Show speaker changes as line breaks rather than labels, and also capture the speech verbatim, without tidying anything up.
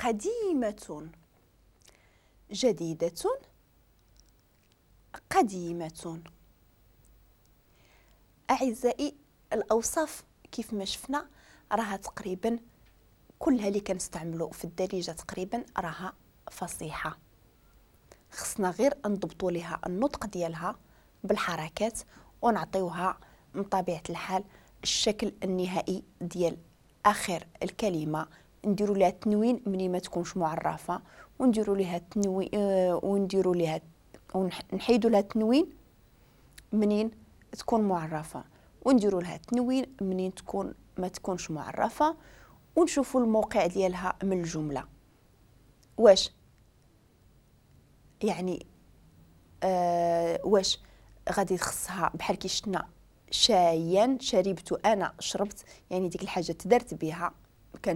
قديمة، جديدة، قديمة. أعزائي، الأوصاف كيف ما شفنا راها تقريبا كلها اللي كنستعملو في الدارجة تقريبا راها فصيحة، خصنا غير نضبطوا لها النطق ديالها بالحركات ونعطيوها من طبيعة الحال الشكل النهائي ديال آخر الكلمة. نديروا لها تنوين مني ما تكونش معرفة، ونديروا لها تنوين، آه، ونديروا لها ونحيدوا لها تنوين منين تكون معرفة، ونديروا لها تنوين منين تكون ما تكونش معرفة، ونشوفوا الموقع ديالها من الجملة. واش يعني آه واش غادي تخصها بحال كي شفنا شايا شربت، انا شربت، يعني ديك الحاجه تدرت بها كانت